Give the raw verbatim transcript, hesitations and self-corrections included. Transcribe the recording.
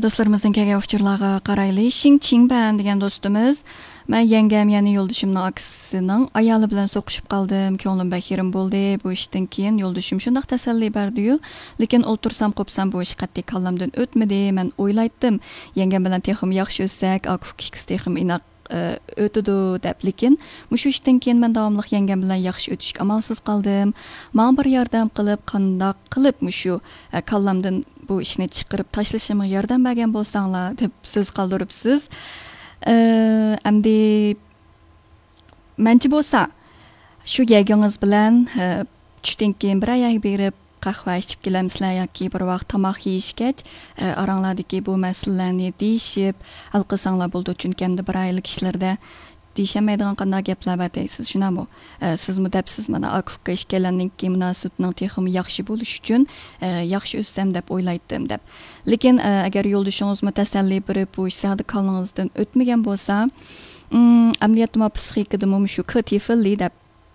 دوستلىرىمىزدىن كەلگەن ئۇچۇرلارغا قارايلى. شىڭ چىڭبەن دېگەن دوستىمىز، مەن يەڭگەم، يەنى يولدىشىمنىڭ ئاكىسىنىڭ ئايالى بىلەن سوقۇشۇپ قالدىم. كۆڭلۈم بەك يېرىم بولدى. بۇ ئىشتىن كېيىن يولدىشىم شۇنداق تەسەللى بەردىيۇ. لېكىن ئولتۇرسام قوپسام بۇ ئىش قەتئىي كاللامدىن ئۆتمىدى. مەن ئويلايتتىم، يەڭگەم بىلەن تېخىمۇ ياخشى ئۆتسەك، ئاكا ئۇكا ئىككىسى تېخىمۇ ئىناق، ئە، ئۆتىدۇ دەپ. لېكىن مۇشۇ ئىشتىن كېيىن مەن داۋاملىق يەڭگەم بىلەن ياخشى ئۆتۈشكە ئامالسىز قالدىم. ماڭا بىر ياردەم قىلىپ، قانداق قىلىپ مۇشۇ، ئە، كاللامدىن بۇ ئىشنى چىقىرىپ تاشلىشىمغا ياردەم بەرگەن بولساڭلار دەپ سۆز قالدۇرۇپسىز. ئە، ئەمدى مەنچە بولسا، شۇ يەگىڭىز بىلەن، ئە، چۈشتىن كېيىن بىرەر يەرگە بېرىپ، قەھۋە ئىچىپ كېلەمسىلەر ياكى بىر ۋاق تاماق يېيىشكەچ، ئە، ئاراڭلاردىكى بۇ مەسىلىلەرنى دېيىشىپ ھەل قىلساڭلار بولىدۇ. چۈنكى ئەمدى بىر ئائىلە كىشىلىرىدە دېيىشەلمەيدىغان قانداق گەپلەر بار دەيسىز، شۇنداقمۇ؟ ئە، سىزمۇ دەپسىز، مانا، ئاكا ئۇكا ئىككىيلەننىڭكى مۇناسىۋىتىنىڭ تېخىمۇ ياخشى بولۇشى ئۈچۈن، ئە، ياخشى ئۆتسەم دەپ ئويلايتتىم دەپ. لېكىن، ئە، ئەگەر يولدىشىڭىزمۇ تەسەللى بېرىپ، بۇ ئىش زادى كاللىڭىزدىن ئۆتمىگەن بولسا، ئىم، ئەمەلىيەتتىمۇ پسىخىكىدىمۇ مۇشۇ كىتىفىللى دەپ